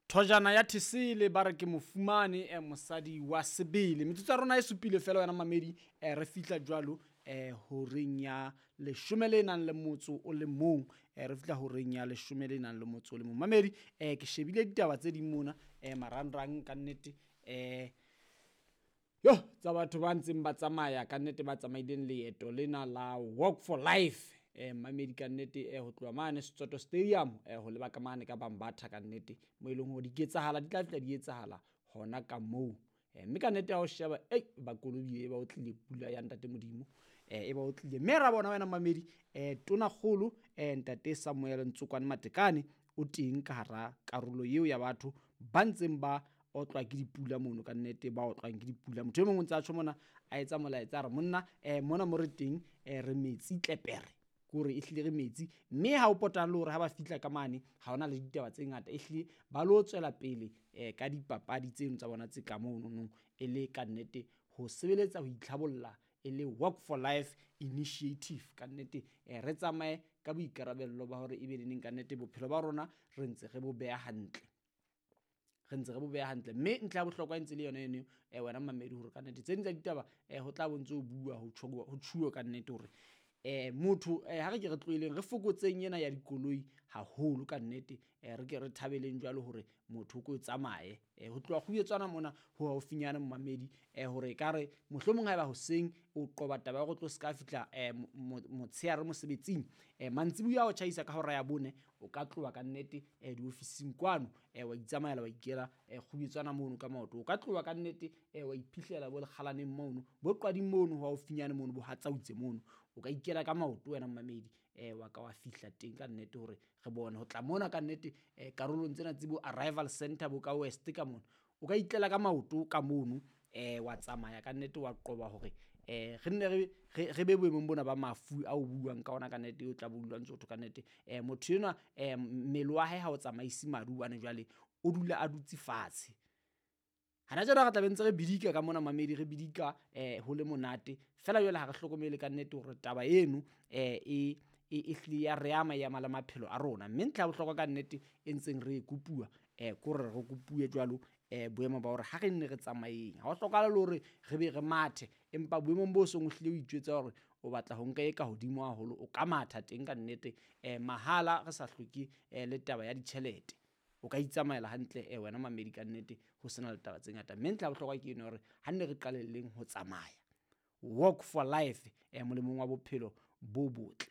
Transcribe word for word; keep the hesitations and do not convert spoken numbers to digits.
Thojana ya Thesele ba re ke mofumane eh, mosadi wa sebele. Metsotso ya rona e supile fela wena mamedi, eh, re fihla jwalo eh, horeng ya leshome le nang le motso o le mong, eh, re fihla horeng ya leshome le nang le motso o le mong. Mamedi, eh, ke shebile ditaba tse ding mona eh, marangrang ka nnete, eh, yo tsa batho ba ntseng ba tsamaya ka nnete, ba tsamaileng leeto lena la Walk for Life, eh, mamedi ka nnete, eh, ho tloha mane Setsoto Stadium, eh, ho leba ka mane ka Bambatha ka nnete, mo e leng hore diketsahala di tla fihla di etsahala hona ka moo. Eh, mme ka nnete ha o sheba, ei, ba kolobile, ba otlile pula ya ntate Modimo, eh, e ba otlile. Mme ra bona wena mamedi, eh, tonakgolo, eh, ntate Samuel Ntsokwane Matekane o teng ka hara karolo eo ya batho ba ntseng ba otlwa ke dipula mono ka nnete, ba otlwang ke dipula. Motho e mong o ntse a tjho mona, a etsa molaetsa, a re monna, eh, mona mo re teng, eh, re metsi tlepere, ke hore ehlile re metsi. Mme ha o potang le hore ha ba fihla ka mane ha hona le ditaba tse ngata, ehlile ba lo tswela pele, eh, ka dipapadi tseno tsa bona tse ka mono, e le ka nnete ho sebeletsa ho itlhabolla, e le Walk for Life initiative ka nnete. Eh, re tsamaye ka boikarabello ba hore ebe neneng ka nnete bophelo ba rona re ntse re bo beha hantle, re ntse re bo beha hantle. Mme ntlha ya bohlokwa e ntse le yona eno, eh, wena mamedi, hore ka nnete tse ding tsa ditaba, eh, ho tla bo ntse ho bua, ho tjhuwa, ho tjhuwa ka nnete hore, eh, motho, eh, ha re ke re tlohelleng, re fokotseng ena ya dikoloi haholo ka nnete, eh, re ke re thabeleng jwalo hore motho o ko tsamaye, eh, ho tloha Kgubetswana mona ho haufinyana momamedi, eh, hore ekare mohlomong haeba hoseng o qoba taba ya hore o tlo ska fihla, eh, mo-, mo-, motshehare mosebetsing, eh, mantsiboya o tjhaisa ka hora ya bone, o ka tloha ka nnete, eh, diofising kwano, eh, wa itsamaela wa ikela, eh, Kgubetswana mono ka maoto. O ka tloha ka nnete, eh, wa iphihlela bo lekgalaneng mono, bo qwading mono, ho haufinyane mono, bo hatsautse mono, o ka ikela ka maoto wena mamedi, eh, wa ka wa fihla teng ka nnete hore re bone ho tla mona ka nnete, eh, karolong tsena tse bo arrival center bo ka west ka mona, o ka itlela ka maoto ka mono, eh, wa tsamaya ka nnete, wa qoba hore, eh, re nne re, re, re be boemong bona ba mafu a o buang ka ona ka nnete, o tla bo dula ntse o thwe ka nnete, eh, motho enwa, eh, mmele wa hae ha o tsamaise madi hobane jwale o dula a dutse fatshe. Hana jwale re tla be ntse re bidika ka mona mamedi, re bidika, eh, ho le monate fela. Jwale ha re hlokomele ka nnete hore taba eno, eh, e, e, e hlile ya re ama, ya ama le maphelo a rona. Mme ntlha ya bohlokwa ka nnete e ntseng re e kopuwa, eh, ke hore re kopuwe jwalo, eh, boemo ba hore ha re nne re tsamayeng, ha ho hlokahale le hore re be re mathe, empa boemong bo seng o hlile o itjwetsa hore o batla ho nka e ka hodimo haholo, o ka matha teng ka nnete, eh, mahala, re sa hloke, eh, le taba ya ditjhelete. O ka itsamaela hantle, eh, wena mamedi ka nnete, ho sena le taba tse ngata. Mme ntlha ya bohlokwa ke eno hore ha nne re qalelleng ho tsamaya, Walk for Life, eh, molemong wa bophelo bo botle.